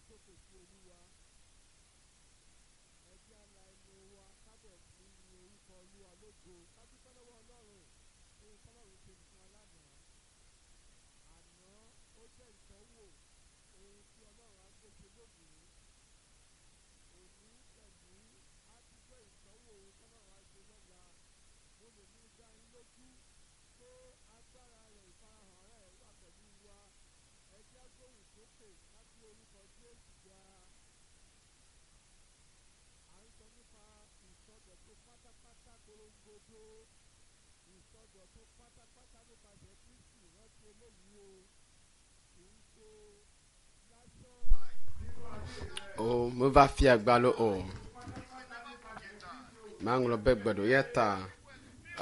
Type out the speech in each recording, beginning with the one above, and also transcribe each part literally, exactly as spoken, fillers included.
sókè sí Olúwa. Ẹ jẹ́ á la ẹnu wa ká bẹ̀rẹ̀ sí ní yin orúkọ Olúwa lógo. Ká dúpẹ́ lọ́wọ́ Ọlọ́run fún ohun tọ́lọ́run ṣe fún wa lánàá. Àná ó jẹ́ ìtọ́wò ohun tí Ọlọ́run á gbé ṣe lónìí. Òní pẹ̀lú á tún jẹ́ ìtọ́wò ohun tọ́lọ́run á ṣe lọ́la. Mo lè mú dá yín lójú pé agbára rẹ̀ ìfarahàn rẹ̀ wà pẹ̀lú wa. Ẹ jẹ́ á gbóhùn sókè ká gbé orúkọ Jésù ga. À ń sọ nípa ìsọdọ̀tun pátápátá korongodo. Ìsọdọ̀tun pátápátá nípasẹ̀ Kristi rántí eléyìí o. Kì í ṣe lásán nínú ayé rẹ̀. O meva fia gbalo o. Maŋlɔ be gbe ɖo ya ta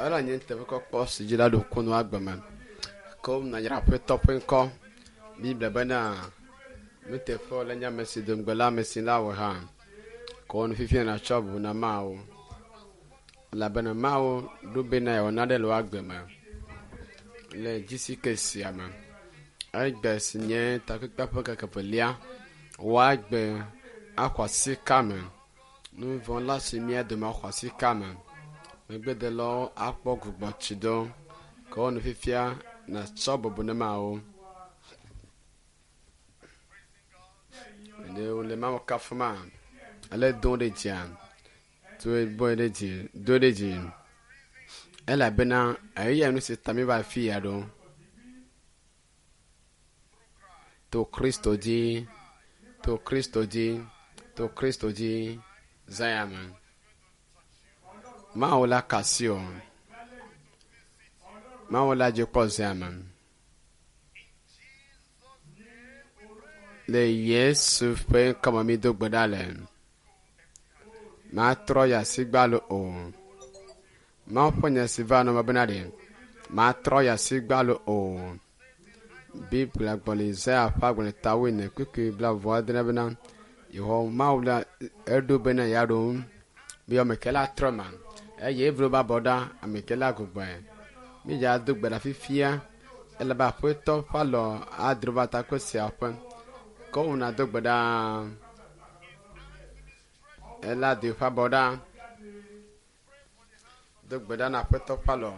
ele nye teƒe kɔkɔ si dzi la ɖo kunu agbe me. Ke womna dzra aƒetɔ ƒe ŋkɔ. Biblia bena nuteƒe le nye ame si do ŋugbe la ame si la wɔ hã. Ke wo nu fifia natsɔ bu na Mawu. Elabena Mawu ɖo bena yeawɔ nane le wò agbe me le dzisi sia me. Egbe si nye takpekpea ƒe ŋkeke evelia woagbe axɔ asi ka me. Nu vɔ̃ la si mía dome axɔ asi ka me. Megbedelawo akpɔ gbugbɔtsi do. Ke wo nu fifia natsɔ bubu ne Mawu. Ɖe wole Mawu kafuma ele do ɖe dzia do bɔe ɖe dzi do ɖe dzi elabena eya nu si ta mi va fi ya ɖo. To Kristo dzi, to Kristo dzi, to Kristo dzi, zã me. Mawu la kasi o. Mawu la dzi kpɔ zã me. Le Yesu ƒe ŋkɔme mi do gbe ɖa le. Matrɔ yi asi gbalo o. Mawu ƒe nya si va nɔ me bena ɖe matrɔ yi asi gbalo o. Biblia gblɔ le Isaya ƒe agbalẽ ta wuiene kpukpui blaeve adre bena Yehowa Mawu la eɖo bena yeaɖo ŋu be ame ke la trɔ ma eye evlo ba bɔ ɖa ame ke la gbugbɔe. Mídza do gbe ɖa fifia elabe aƒetɔ ƒe alɔ adro va takpe sia ƒe. Ke wona do gbe ɖa ela do eƒe abɔ ɖa. Do gbe ɖa na aƒetɔ ƒe alɔ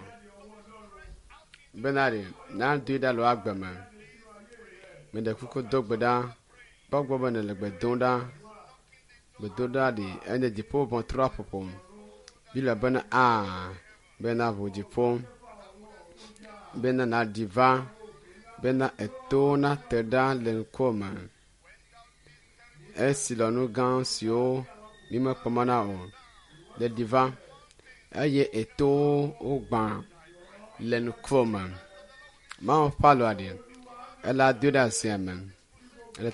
bena ɖe nadoe ɖa le wò agbe me. Meɖe kuku do gbe ɖa kpɔ gbɔ be nèle gbe dom ɖa. Gbedoɖa ɖi enye dziƒo ʋɔtrua ƒoƒo. Biblia bena aa bena ʋu dziƒo bena nàɖi va bena etowo nate ɖa le ŋkuwò me. Esi le nu gã siwo mímekpɔ mɔ na o le ɖi va eye etowo wogbã le ŋkuwò me. Mawu ƒe alɔa ɖi ela doe ɖe azia me.